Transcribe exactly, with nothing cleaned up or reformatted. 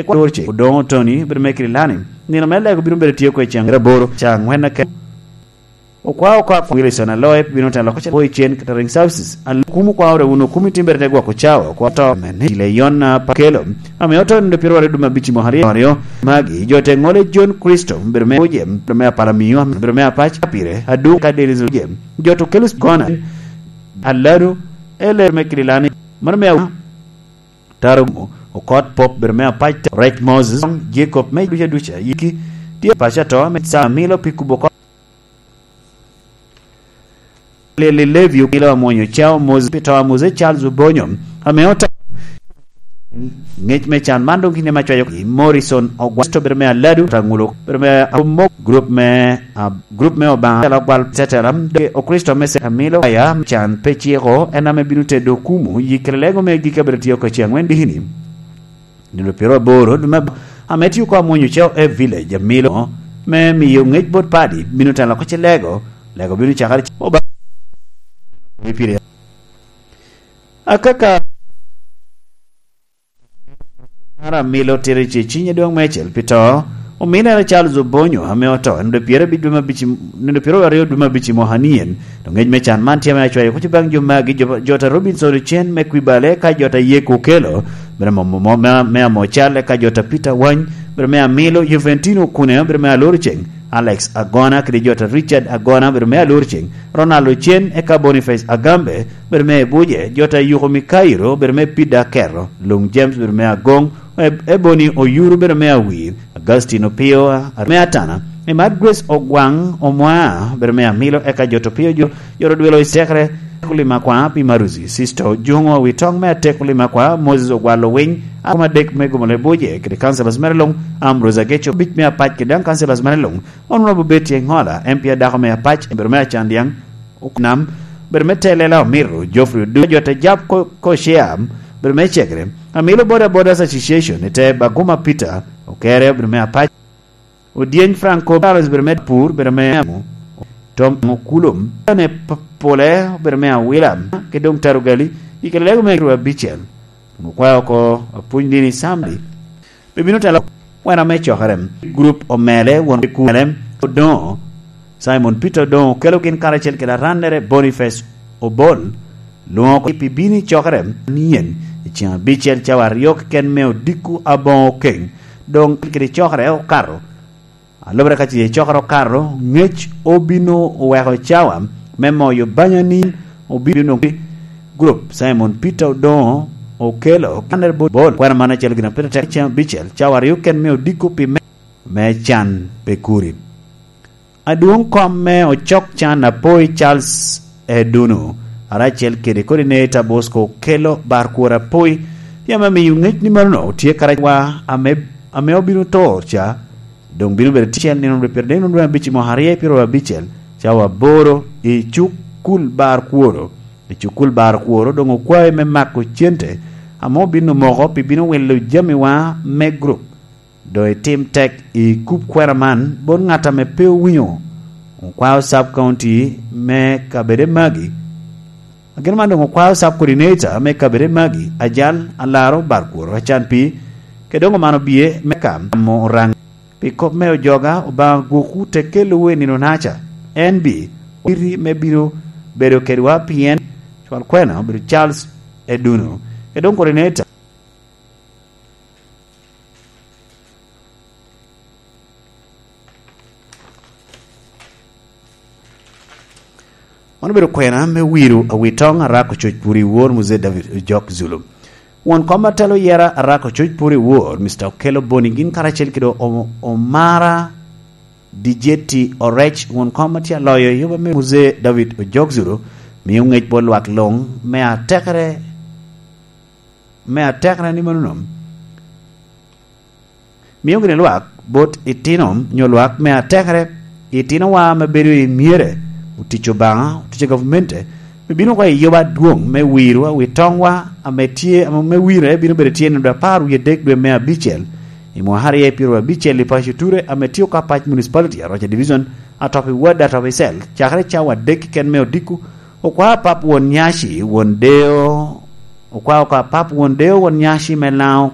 Kwa Dorce, Odongo Tony, bedo me Kirilani. Nino me lego bino bedo tye oko i ceng aboro, ca angwen ake. Okwa oko a Wilson Aloe, bino telo ko cen, boy cen catering services. Al-, kum okwa ore uno, kum itim bedo te gwoko cawa, okwa to, mene, ile yon na pa kelo. Ame oto nindo piro aryo dum abici mo aryo, aryo. Magi, jo te ngole John Christo, bedo me Uje, bedo me Apala Miyo, bedo me Apac, pire, Adu, ka Dennis Uje. Jo to kelo Gona, Aladu, ele me Kirilani, mano me Taro Okot Pop, bedo me Apac, Rec Moses, Jacob me duca duca, yiki, tye paco ato, me sa milo pi kubo ko. Lili Levi okilo amwonyo cao Moses, pi to a Moses Charles Obonyo, ame oto. Ngec me can man dong kinde ma cwayo ki Morrison Ogwasto, bedo me Aladu, Rangulo, bedo me Amok, group me, ah, group me Obaŋa, tela gwal tetela, de Okristo me se-, amilo aya, can pe ciko, en ame bino tedo kumu, yikere lego me gik abiro tio ka ce angwen dikini. Nino piro aboro, dum ab-, ame tio ko amwonyo cao e village, amilo, me miyo ngec bot padi, bino telo ko ce lego, lego bino cakere ce-, oba-, pire. Akaka, Mara milo tiri ce cinye dong me cel pi to, ominere Charles Obonyo ame oto, en de pyero abic dwe me abic, nino pyero aryo dwe me abic i mwaka nien. Dong ngec me can man tye ame acwayo kuc baŋ jo magi, jo, jo ta Robinson Ochen me Kwibale, ka jo ta Yeko Okelo, bene mo, mo, mo, me, me Amocal, eka jo ta Peter Wany, bene me Amilo, Juventino Okune, bene me Alorceng, Alex Agona, kede jo ta Richard Agona, bene me Alorceng, Ronald Ochen, eka Boniface Agambe, bene me Ebuje, jo ta Yuko Mikairo, bene me Pida Kero, Lung James, bene me Agong, Eb-, Ebony Oyuru, bene me Awir, Augustine Opio, a-, me Atana, Emad Grace Ogwaŋ Omwa, bedo me Amilo, eka jo to pio jo, jo to dwelo i sekere, Atek Olima Kwa, pi Maruzi, Sister Ojuŋo, Awitoŋ me Atek Olima Kwa, Moses Ogwalo Winy, akoma dek me Gomole Buje, kede councillors mere luŋ, Ambrose Ageco, abic me Apac, kede daŋ councillors mere luŋ, Honorable Betty Engola, M P adako me Apac, bedo me Acandiaŋ, Nam, bedo me Telela Omiro, Geoffrey Odu, jo te Jab Ko-, Koshea, bedo me Cegre, Amilo Boda Bodas Association, ite Baguma Peter, Okere, bedo me Apac, Odyeny Franco Charles, bedo me Pur, bedo me Amu, Tom Okulum, ne P-, Pole, bedo me Awila, ki dong Tarugali, i kede lego me Rua Bicel, okwao oko, Apuny Dini Sambi. Pe bino telo kwena me cokere. Grup omele, won kumele, Odoŋo, Simon Peter Odoŋo, okelo gin karacel kede arannere Boniface Obol, lwoŋo oko pi bino i cokere nien, i ceŋ abicel cawa aryo keken me odiko aboŋo keŋ, doŋ kede cokere okato. Alubere ka ce cokere okato, ngec obino oweko cawa me moyo banya ni obino nwoŋo grup Simon Peter Odoŋo okelo kanere bot bol. Kwena man acel gin a pire tek cen abicel, cawa aryo ken me odiko pi me, me can pe kuri. Adwoŋ kom me ocok can apoi Charles Edunu, aracel kede coordinator Bosco okelo bar kwor apoi, yam amiyo ŋec ni mano otye karawa ame, ame obino to ca, doŋ bino bedo ticel nino rwe pire dek nino rwe abic i mwaka aryo i pyero abicel, cawa aboro i cukul bar kworo. I cukul bar kworo doŋ okwae me mako cente ame obino moko pi bino wilo jamiwa me grup. Doŋ itim tek i kup kwena man bot ŋat ame pe owinyo. Okwao sub county me kabede magi. Agin man doŋ okwao sub coordinator me kabede magi, ajal, alaro, bar kworo, acan pi, ke doŋ omano bie me kam mo oraŋ. Pi kop me ojoga, Obaŋa gwokwu te kelowu i nino naca. En bi, owiti me bino bedo kedwa pien cwal kwena obedo Charles Eduno. Ke doŋ coordinator. Man obedo kwena me wiro awitoŋ Arako Coc Puri Wor Muzee David Ojok Zulu. Won kom atelo yera Arako Coc Puri Wor, Mister Okello Boni, gin karacel kede O-, Omara Dijeti Orec, won kom atye aloyo i yoba me Muzee David Ojok Zulu, miyo ŋec bot lwak luŋ me atekere, me atekere ni mano nom. Mio gini lwak bot itino nyo lwak me atekere, itinowa ame bedo i myere, otic Obaŋa, otic gavumenti, me bino oko i yoba adwoŋ me wiro awitoŋwa ame tye, ame me wire bino bedo tye nino apar wie adek dwe me abicel, i mwaka aryo pyeraryo abicel i paco Ture ame tye oko Apac Municipality, Aroca Division, atop i ward, atop i cell, cakere cawa adek keken me odiko, okwa apap won nyaci, won deo, okwa oko apap won deo, won nyaci me Laŋo,